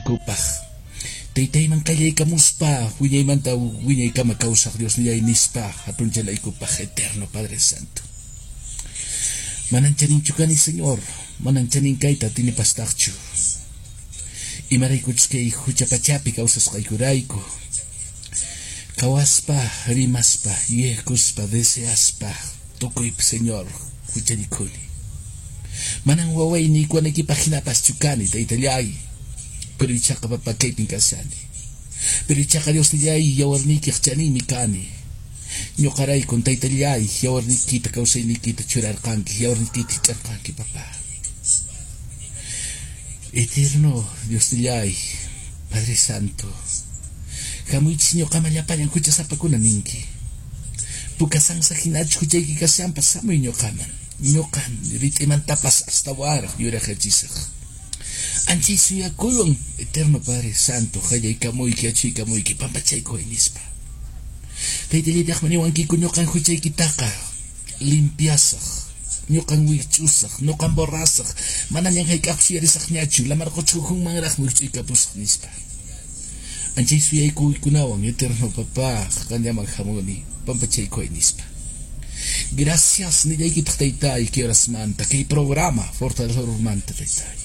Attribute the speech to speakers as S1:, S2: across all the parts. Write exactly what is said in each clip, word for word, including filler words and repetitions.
S1: Kanaykupaq Taytayman qallaykamuspa wiñaymanta wiñaykama kawsaq Diosnillay nispa hatunchanaykupaq eterno Padre Santo. Manan chaninchu kani Señor, manan chanin kayta atinipastaqchu. Imaraykuchus kay hucha pachapi kawsasqaykurayku. Qhawaspa, rimaspa, yuyaykuspa, deseaspa, tukuypi Señor huchallikuni. Manan waway niykuwanaykipaq hinapaschu kani taytallay. Pero ichaqa papa kaypin kashani. Pero ichaqa Diosnillay yawarniykiq chaninmi kani. Ñuqaraykun taytallay yawarniykita kawsayniykita churarqanki, yawarniykita hich'arqanki papá. Eterno Diosnillay, Padre Santo, hamuychis ñuqaman llapallan huchasapakuna ninki. Puka sansa hinachu huchayki kashanpas hamuy ñuqaman. Ñuqan rit'imantapas astawanraq yuraqyachisaq. Anchay suyakuywan Eterno Padre Santo qallaykamuyki achuykamuyki pampachaykuway nispa. Taytallaytaqmi niwankiku ñuqan huchaykitaqa limpiasaq, ñuqan wikch'usaq, ñuqan borrasaq, manañan hayk'aqpas yuyarisaqñachu, lamar qucha ukhunmanraqmi wikch'uykapusaq nispa. Anchay suyaykuykunawan Eterno Papá qanllaman hamuni pampachaykuway nispa. Gracias nillaykitaq taytay kay horasmanta, kay programa Fortalecedormanta taytay.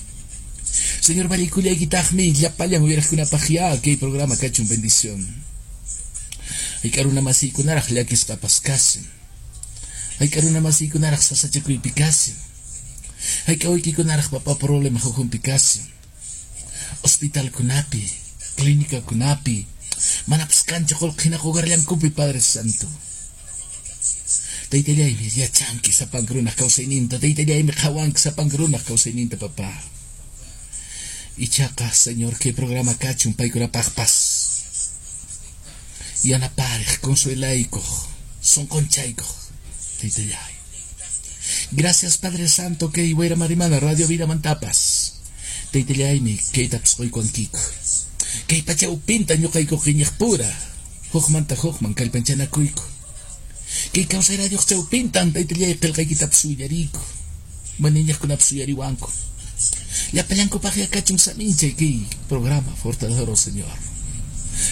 S1: Señor vallaykullaykitaqmi llapallan uyariqkunapaq ya kay programa kachun bendición. Hayk'a runa masiykunaraq llakisqapas kasin. Hayk'a runa masiykunaraq sasachakuypi kasin. Hayk'a waykikunaraq papa problema hukhunpi kasin. Hospitalkunapi, clínicakunapi, manapas kanchu qullqi hina qugarllankupi Padre Santo. Taytallaymi yachanki sapanka runaq kawsayninta, taytallaymi qhawanki sapanka runaq kawsayninta papá. Ichaqa, Señor, kay programa kachun paykunapaqpas. Yanapariq, consuelaykuq, sunqunchaykuq, taytallay. Gracias, Padre Santo, kay Wayra Radio Vida mantapas. Taytallaymi kaytapas quykuwankiku. Kay pacha upinta ñuqayku qiñiqpura, hukmanta hukman kallpanchanakuyku. Kay kawsay radioq chawpintan taytallay qillqaykitapas willariyku. Maniñaqkunapas uyariwanku. Llapallankupaq kachun saminchay kay programa Fortalecedor, Señor.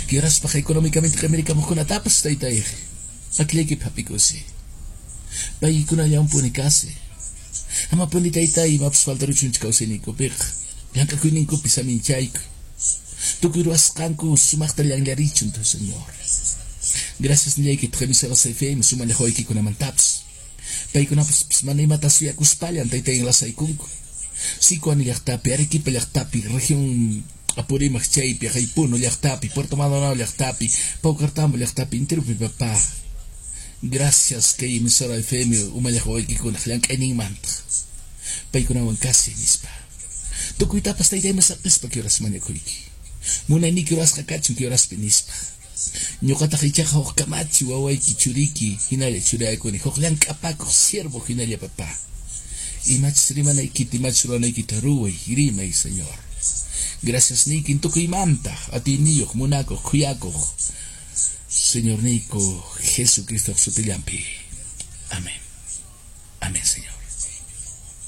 S1: Kiraspaq económicamente qimirikamukkunatapas taytay. Makillaykipi hap'ikusi. Paykunallawanpuni kasi. Amapuni taytay imapas faltaruchunchu kawsayninkupiqa. Llank'akuyninkupi saminchayku. Tukuy ruwasqanku sumaqta llanllarichun, Señor. Gracias nillaykitaq emisoras F M sumallaq waykikunamantapas. Paykunapas mana imata suyakuspallan taytay enlazaykunku. Sicuani llaqtapi, Arequipa llaqtapi, región Apurímac chaypi, Puno llaqtapi, Puerto Maldonado llaqtapi, Paucartambo llaqtapi, interupi papá. Gracias kay emisora F M umallaq waykikunaq llank'ayninmanta. Paykunawan kasi nispa. Tukuytapas taytayman saqispa kay horas mañakuyki. Munayniyki rurasqa kachun kay horaspi nispa. Ñuqataq ichaqa huk kamachi wawayki churiki hinalla churaykuni huk llank'apakuq siervo hinalla papá. Imachus rimanaykita, imachus ruranaykita ruway, rimay, Señor. Gracias niyki tukuymanta, atiyniyuq, munakuq, khuyakuq. Señor niyku Jesucristo sutillanpi. Amén.